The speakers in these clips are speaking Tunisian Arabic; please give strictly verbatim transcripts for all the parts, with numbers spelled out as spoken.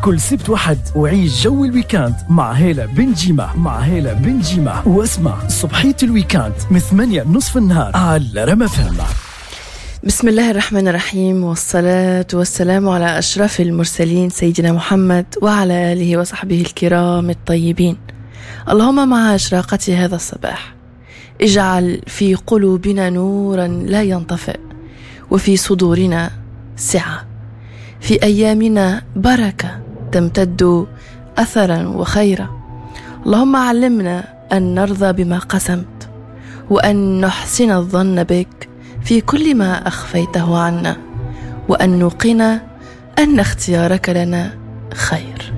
كل سبت وحد وعيش جو ال week-end مع هالة بن جيمة مع هالة بن جيمة واسمع صبحية ال week-end من ثمانية نصف النهار على رما فهم. بسم الله الرحمن الرحيم، والصلاة والسلام على أشرف المرسلين سيدنا محمد وعلى آله وصحبه الكرام الطيبين. اللهم مع إشراقة هذا الصباح اجعل في قلوبنا نورا لا ينطفئ، وفي صدورنا سعة، في أيامنا بركة تمتد أثرا وخيرا. اللهم علمنا أن نرضى بما قسمت، وأن نحسن الظن بك في كل ما أخفيته عنا، وأن نوقن أن اختيارك لنا خير.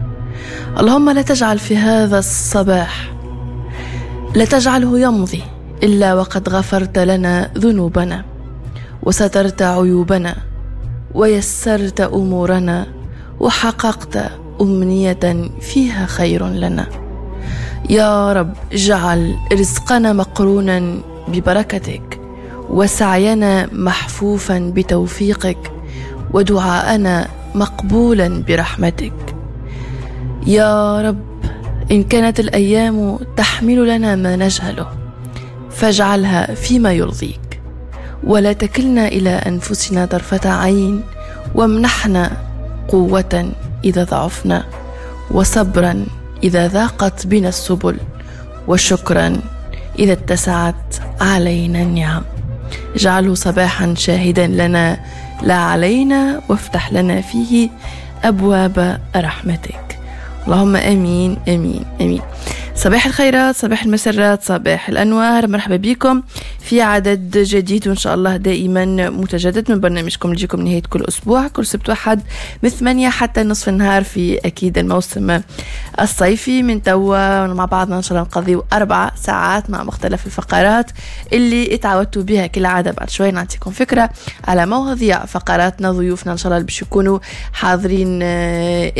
اللهم لا تجعل في هذا الصباح لا تجعله يمضي إلا وقد غفرت لنا ذنوبنا، وسترت عيوبنا، ويسرت أمورنا، وحققت أمنية فيها خير لنا. يا رب اجعل رزقنا مقرونا ببركتك، وسعينا محفوفا بتوفيقك، ودعاءنا مقبولا برحمتك. يا رب إن كانت الأيام تحمل لنا ما نجهله فاجعلها فيما يرضيك، ولا تكلنا إلى أنفسنا طرفة عين، وامنحنا قوة إذا ضعفنا، وصبرا إذا ضاقت بنا السبل، وشكرا إذا اتسعت علينا النعم. اجعله صباحا شاهدا لنا لا علينا، وافتح لنا فيه أبواب رحمتك. اللهم أمين أمين أمين. صباح الخيرات، صباح المسرات، صباح الأنوار. مرحبا بكم في عدد جديد وإن شاء الله دائما متجدد من برنامجكم اللي يجيكم نهاية كل أسبوع، كل سبت وحد من ثمانية حتى نصف النهار في أكيد الموسم الصيفي. من توا مع بعضنا إن شاء الله نقضيو أربع ساعات مع مختلف الفقرات اللي اتعودتوا بها كالعادة. بعد شوي نعطيكم فكرة على مواضيع فقراتنا، ضيوفنا إن شاء الله اللي باش يكونوا حاضرين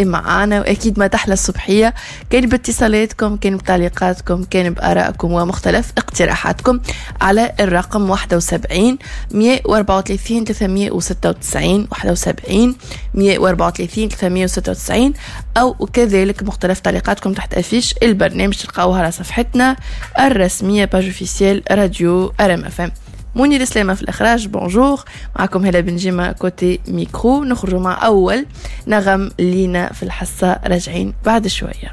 معانا، وأكيد ما تحلى الصبحية كان باتصالاتكم، كان بتعليقاتكم، كان بآرائكم ومختلف اقتراحاتكم على الرقم واحد وسبعين مية وأربعة وثلاثين ثلاثمية وستة وتسعين، واحد وسبعين مية وأربعة وثلاثين ثلاثمية وستة وتسعين، أو كذلك مختلف تعليقاتكم تحت affiche البرنامج تلقاوها على صفحتنا الرسمية page officielle راديو ار ام اف ام. منير سلامة في الإخراج، bonjour، معكم هلا بن جيمة côté micro. نخرج مع أول نغم لينا في الحصة، راجعين بعد شوية.